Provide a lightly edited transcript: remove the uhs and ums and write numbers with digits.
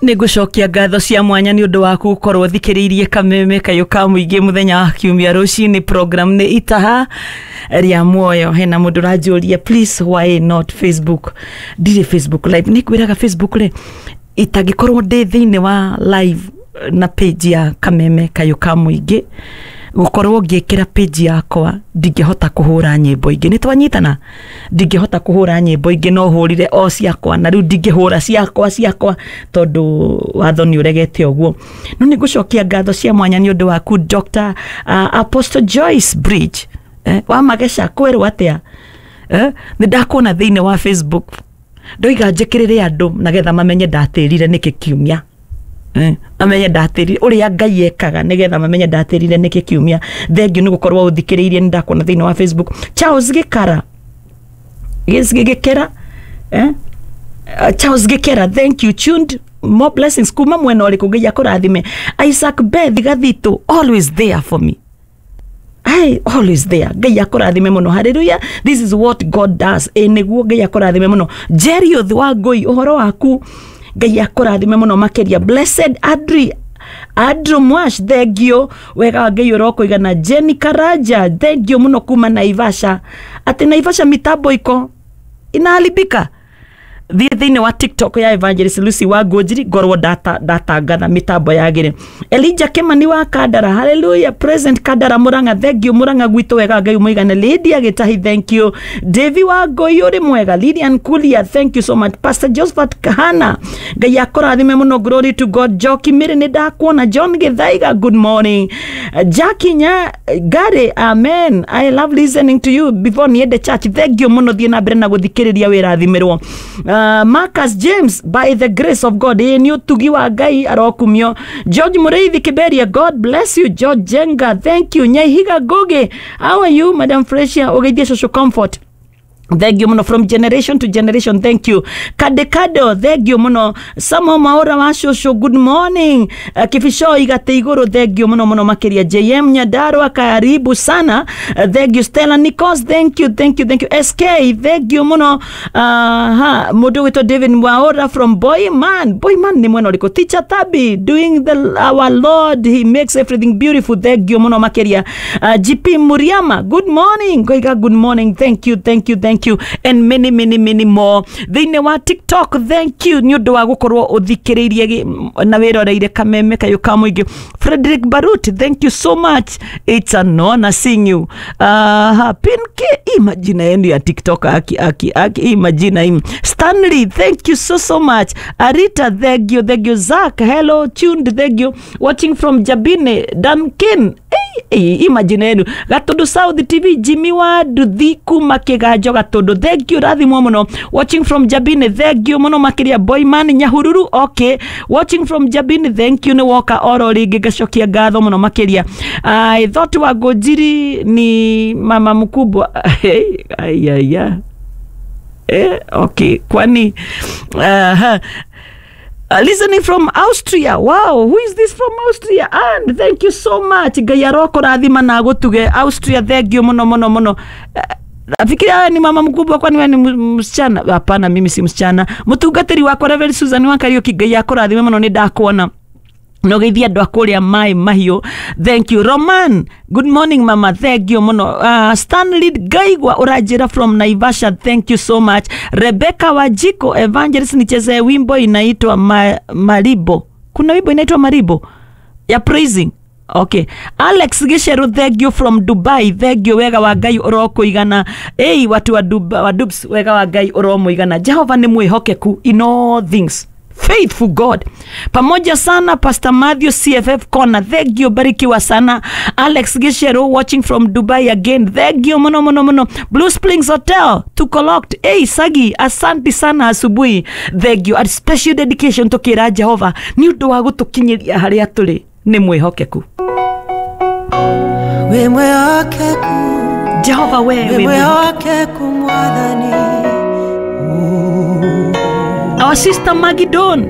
Nĩ ngũcokia ngatho cia mwanya nĩ ũndũ waku gũkorwo thikĩrĩirie Kameme Kayũ ka Mũingĩ mũthenya wa kiumia rũcinĩ. Program nĩ Itaha rĩa Muoyo. Hena mũndũ ũranjũria, "Please, why not Facebook?" Ndirĩ Facebook live. Nĩ ngwĩraga Facebook rĩ, itangĩkorwo ndĩ thĩinĩ wa live na page ya Kameme Kayũ ka Mũingĩ, gũkorwo ngĩkĩra page yakwa, ndingĩhota kũhũra nyĩmbo ingĩ. Nĩ twanyitana? Ndingĩhota kũhũra nyĩmbo ingĩ, no hũrire o ciakwa, na rĩu ndingĩhũra ciakwa tondũ watho nĩ ũregete ũguo. No nĩ ngũcokia ngatho cia mwanya nĩ ũndũ waku, Dr Apostle Joyce Bridge, wa Mageca. Kwĩrwo atĩa? Nĩ ndakuona thĩinĩ wa Facebook. Ndoiga njĩkĩrĩre andũ nagetha mamenye ndatĩrire nĩkĩ kiumia, mamenye ndatĩrire ũrĩa Ngai ekaga, nĩgetha mamenye ndatĩrire nĩkĩ kiumia. Thengiũ nĩ gũkorwo ũthikĩrĩirie. Nĩ ndakuona thĩinĩ wa Facebook. Charles Gĩkara, Gĩkera, eh? Charles Gĩkera, thank you. Tuned, more blessings. Kuma mwena ũrĩkũ? Ngai akũrathime. Isaac Beth Gathito, always there for me. I always there. Ngai akũrathime mũno. Hallelujah. This is what God does. Ĩ nĩguo, Ngai akũrathime mũno. Jerioth wa Ngũi, ũhoro waku? Ngai akũrathime mũno makĩria. Blessed Adri Andrew Mwash, thank you. Wega wa Ngai ũrokũigana. Jenny Karaja, thank you mũno kuma Naivasha. Atĩ Naivasha mitambo iko inaharibika. Thiĩ thĩinĩ wa TikTok ya Evangelist Lucy wa Ngũnjiri, ngorwo ndatangatha mĩtambo yagĩre. Elijah Kimani wa Kandara, hallelujah, present Kandara Murang'a, thank you. Murang'a gwitũ, wega Ngai mũigane. Lydia Gĩtahi, thank you. Davy wa Ngũi, ũrĩ mwega. Lilian Kulia, thank you so much. Pastor Josephat Kahana, Ngai akũrathime mũno. Glory to God. Joki Mĩrĩ, nĩ ndakuona. John Gĩthaiga, good morning. Jackie Nya Gary, amen. I love listening to you before niende church. Thank you mũno. Thiĩ na mbere na gũthikĩrĩria, wĩrathimĩrwo. Marcus James, by the grace of God, ĩ nĩ ũtugi wa Ngai, arokumio. George Mũrĩithi Kiberia, God bless you. George Jenga, thank you. Nyaihiga Ngugi, how are you, Madam Fresia? Ũgeithie Social Comfort. Thank you muno. From generation to generation, thank you. Kadekado, thank you muno. Samo Maura wa Shosho, good morning. Kifisho Igate Iguru, thank you muno muno makiria. JM Nyadarwa, karibu sana. Thank you. Stella Nikos, thank you, thank you, thank you. SK, thank you muno. Ha, mundu witwo David Mwaura from Boyman. Boyman ni mwena ũrĩkũ? Teacher Tabi, doing the our Lord, he makes everything beautiful. Thank you muno makiria. GP Muriama, good morning. Ngoiga good morning. Thank you, thank you, thank you, and many, many, many more thĩinĩ wa TikTok. Thank you nĩ ũndũ wa gũkorwo ũthikĩrĩirie na wĩroreire Kameme Kayũ ka Mũingĩ. Frederick Barut, thank you so much. It's an honor seeing you. Pinke, hii majina yenu ya TikTok, aki aki aki, hii majina hii. Stanley, thank you so so much. Arita, thank you, thank you. Zach, hello, tuned, thank you. Watching from Jabine. Duncan, hey, hey, hii majina yenu. Gatundu South TV, Jimmy wa Nduthi kuma Kiganjo Gatundu, thank you, rathimwo muno. Watching from Jabine, thank you muno makiria. Boyman Nyahururu, okay, watching from Jabine, thank you. Nĩ woka oro rĩngĩ, ngacokia ngatho muno makiria. I thought wa Ngũnjiri ni mama mkubwa. Ayaya, okay, kwani listening from Austria. Wow, who is this from Austria? And thank you so much. Ngai arokũrathima na agũtuge. Austria, thank you muno muno muno. Nafikiria ni mama mkubwa, kwani wewe ni msichana? Hapana, mimi si msichana. Mũtungatĩri wakwa Reverend Susan wa Kariuki, Ngai akũrathime mũno, nĩ ndakuona no geithia andũ a kũrĩa Maĩ Mahiũ. Thank you. Roman, good morning, mama, thank you mũno. Stanley Gaigwa, ũranjĩra from Naivasha, thank you so much. Rebecca Wajiko, "Evangelist, nichezee wimbo inaitwa Maribo." Kuna wimbo inaitwa Maribo ya praising. Okay. Alex Gisheru, thank you from Dubai. Thank you, wega wa Ngai ũrokũigana. Ei, watu wa Dubai, wa Dubs, wega wa Ngai ũromũigana. Jehova nĩ mwĩhokeku in all things. Faithful God. Pamoja sana, Pastor Matthew CFF Corner. Thank you, barikiwa sana. Alex Gisheru watching from Dubai again. Thank you muno muno muno. Blue Springs Hotel tuko locked. Hey, Sagi, asante sana asubuhi. Thank you. A special dedication tukira Jehova nĩ ũndũ wa gũtũkinyĩria harĩa tũrĩ, nĩ mwĩhokeku. Wĩ mwĩhokeku. Jehova, we wĩ wĩ mwĩhokeku. Mwĩhokeku, Mwathani. Our sister Maggie Don.